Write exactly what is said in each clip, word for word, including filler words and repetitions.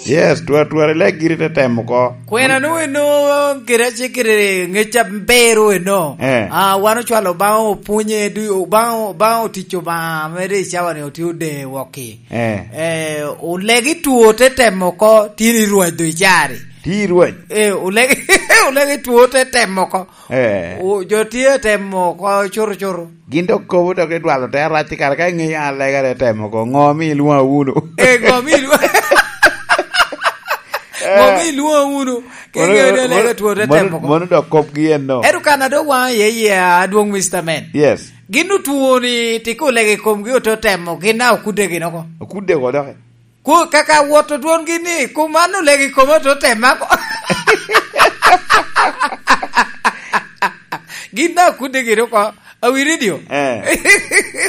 Yes, twatwar ilek giri te temo oko. Kwena nu eno kede acikere ŋec aber eno. Eh. Ah, wan ocwalo Obaŋa opwonye, du-, Obaŋa, Obaŋa otic Obaŋa mere i cawa ni otye ode wokki. Eh. Eh, olegi two te temo oko, tye ni rwac do icari. Tye i rwac? Eh, olegi, olegi two te temo oko. Eh. O, jo tye temo oko cuto cuto. Gin dok kobo dok idwalo te arac i kare ka iŋeyo an lega te temo oko. Ŋo mi ilwoŋa wunu? Eh, ŋo mi ilwoŋa? Ŋo mi ilwoŋa wunu? Ke Mono, ŋeyo ni mono, lega two te mono, temo oko. Mono dok kopgi en no. Ento kan a dok waŋa iye iye adwoŋ Mister Man. Yes. Gin otwo ni tiko lege i komgi oto temo, gin na okudde gin oko. Okudde oko dok. Ku kaka woto dwongi ni, ku man olego i koma to te mako. Gin daŋ okudde gire oko, awi redio. Eh.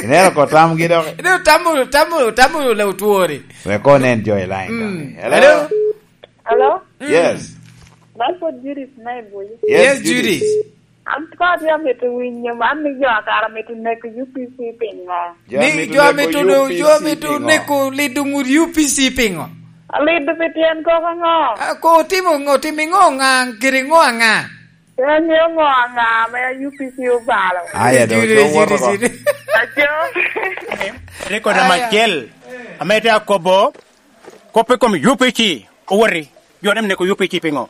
Ineno ko tamgi dok. Ino tamo, tamo, tamo le otwori. Wek onen jo i line. Mm. Hello? Hello? Hello? Mm. Yes. Man pwod Judith me Ibuc. Yes, Yes, Judith. Judith. An ko atye amito winyo man ni jo a kara mito neko U P C piŋo? Jo ni amito jo neko amito do, U P C jo amito piŋo? Neko lido ŋut U P C piŋo? Alido pi tyen koko ŋo? A, ko otimo ŋo, otimo ŋo ŋa, giri ŋo aŋa? Pe aŋeo ŋo aŋa ame U P C obalo. Aya, do, Jiri, do woto jiri, ko. Jiri. Aco. Rekod Aya. Macel, ame te akobo, kop i kom U P C, owoti, jo ne neko U P C piŋo?